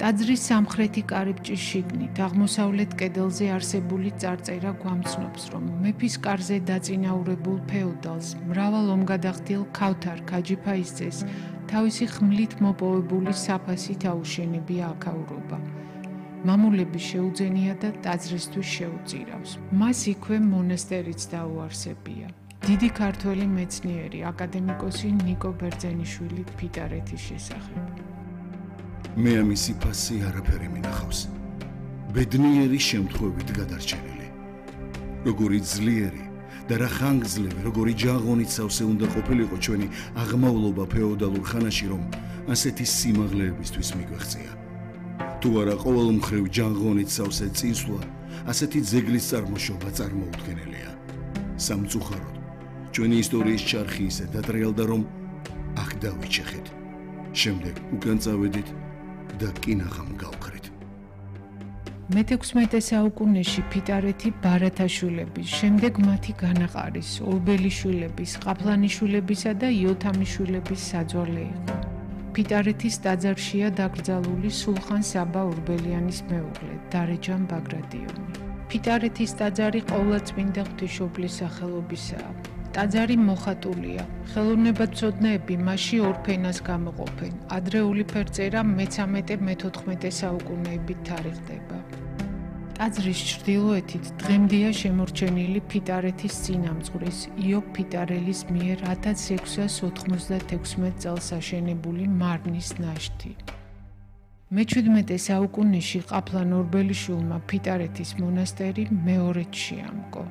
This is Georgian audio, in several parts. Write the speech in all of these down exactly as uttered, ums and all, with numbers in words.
ტაძრის სამხრეთი კარიბჭის შიგნით აღმოსავლეთ კედელზე არსებული წარწერა გვამცნობს, რომ მეფის კარზე დაწინაურებულ ფეოდალს მრავალ ომგადახდილ ქავთარ ქაჯიფაის ძეს თავისი ხმლით მოპოვებული საფასით აუშენებია აქაურობა. მამულები შეუძენია და ტაძრისთვის შეუწირავს. მას იქვე მონასტერიც დაუარსებია. დიდი ქართველი მეცნიერი აკადემიკოსი ნიკო ბერძენიშვილი ფიტარეთის შესახებ. მე ამისი ფასი არაფერი მინახავს. ბედნიერი შემთხვევით გადარჩენილი. როგორი ძლიერი და რა ხანგრძლივი, როგორი ჯაღონით სავსე უნდა ყოფილიყო ჩვენი აღმავლობა ფეოდალურ ხანაში, რომ ასეთი სიმაღლეებისთვის მიგვეღწია. თუ არა ყოველ მხრივ ჯაღონით სავსე წინსვლა, ასეთი ძეგლის წარმოშობა წარმოუდგენელია. სამწუხაროდ, ჩვენი ისტორიის ჩარხი ისე დადრეალდა, რომ აქ დავიჩეხეთ. შემდეგ უკან წავედით და კინაღამ გავქრით. მეთექვსმეტე საუკუნეში ფიტარეთი ბარათაშვილების, შემდეგ მათი განაყარის, ორბელიშვილების, ყაფლანიშვილებისა და იოთამიშვილების საძვალე იყო. ფიტარეთის ტაძარშია დაკრძალული სულხან საბა ორბელიანის მეუღლე, დარეჯან ბაგრატიონი. ფიტარეთის ტაძარი ყოვლადწმინდა ღვთისმშობლის სახელობისაა. ტაძარი მოხატულია. ხელოვნებაცოდნეები მასში ორ ფენას გამოყოფენ. ადრეული ფერწერა მესამე მეთოთხმეტე საუკუნეებით თარიღდება. ტაძრის ჩრდილოეთით დღემდეა შემორჩენილი ფიტარეთის წინამძღვრის იობ ფიტარელის მიერ ათას ექვსას ოცდაექვსმეტ წელს აშენებული მარნის ნაშთი. მეჩვიდმეტე საუკუნეში ყაფლან ორბელიშვილმა ფიტარეთის მონასტერი მეორედ შეამკო.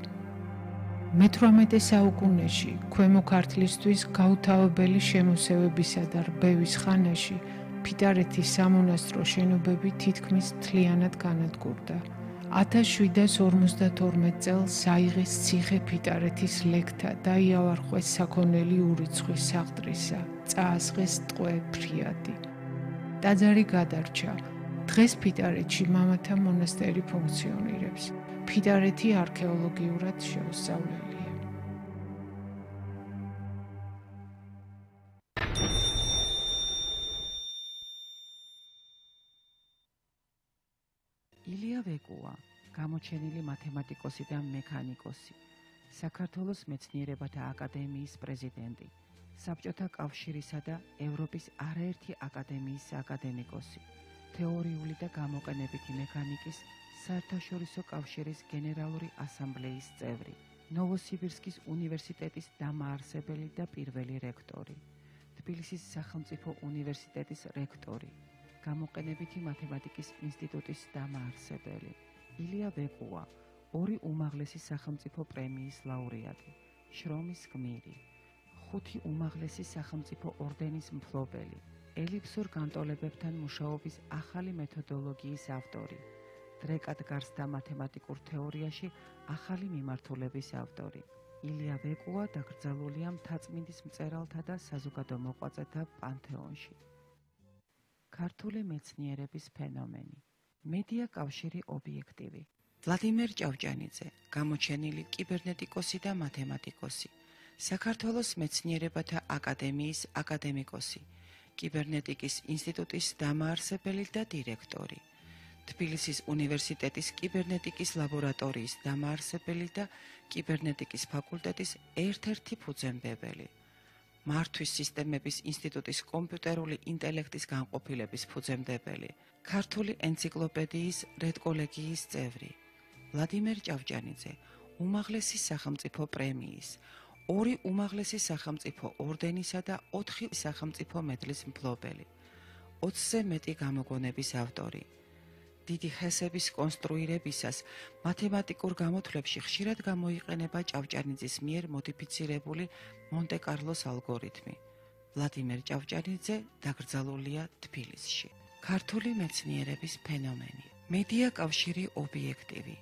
მეთვრამეტე საუკუნეში ქვემო ქართლისთვის გაუთავებელი შემოსევებისა და რბევის ხანაში ფიტარეთის სამონასტრო შენობები თითქმის მთლიანად განადგურდა. ათას შვიდას ორმოცდათორმეტ წელს საიღეს ციხე ფიტარეთის ლეკთა და იავარყვეს საქონელი ურიცხვი საღდრისა, წაასხეს ტყვე ფრიადი. ტაძარი გადარჩა. დღეს ფიტარეთში მამათა მონასტერი ფუნქციონირებს. ფიტარეთი არქეოლოგიურად შეუსწავლელია. ილია ვეკუა, გამოჩენილი მათემატიკოსი და მექანიკოსი, საქართველოს მეცნიერებათა აკადემიის პრეზიდენტი, საბჭოთა კავშირისა და ევროპის არაერთი აკადემიის აკადემიკოსი, თეორიული და გამოყენებითი მექანიკის საერთაშორისო კავშირის გენერალური ასამბლეის წევრი, ნოვოსიბირსკის უნივერსიტეტის დამაარსებელი და პირველი რექტორი, თბილისის სახელმწიფო უნივერსიტეტის რექტორი, გამოყენებითი მათემატიკის ინსტიტუტის დამაარსებელი. ილია ვეკუა, ორი უმაღლესი სახელმწიფო პრემიის ლაურეატი, შრომის გმირი, ხუთი უმაღლესი სახელმწიფო ორდენის მფლობელი, ელიფსურ განტოლებებთან მუშაობის ახალი მეთოდოლოგიის ავტორი, დრეკად გარსთა მათემატიკურ თეორიაში ახალი მიმართულების ავტორი. ილია ვეკუა დაკრძალულია მთაწმინდის მწერალთა და საზოგადო მოღვაწეთა პანთეონში. ქართული მეცნიერების ფენომენი. მედია კავშირი ობიექტივი. ვლადიმერ ჭავჭანიძე, გამოჩენილი კიბერნეტიკოსი და მათემატიკოსი, საქართველოს მეცნიერებათა აკადემიის აკადემიკოსი, კიბერნეტიკის ინსტიტუტის დამაარსებელი და დირექტორი, თბილისის უნივერსიტეტის კიბერნეტიკის ლაბორატორიის დამაარსებელი და კიბერნეტიკის ფაკულტეტის ერთ-ერთი ფუძემდებელი, მართვის სისტემების ინსტიტუტის კომპიუტერული ინტელექტის განყოფილების ფუძემდებელი, ქართული ენციკლოპედიის რედკოლეგიის წევრი, ვლადიმერ ჭავჭანიძე, უმაღლესი სახელმწიფო პრემიის, ორი უმაღლესი სახელმწიფო ორდენისა და ოთხი სახელმწიფო მედლის მფლობელი, ოცზე მეტი გამოგონების ავტორი. დიდი ხესების კონსტრუირებისას მათემატიკურ გამოთვლებში ხშირად გამოიყენება ჭავჭანიძის მიერ მოდიფიცირებული მონტე-კარლოს ალგორითმი. ვლადიმერ ჭავჭანიძე დაკრძალულია თბილისში. ქართული მეცნიერების ფენომენი. მედია კავშირი ობიექტივი.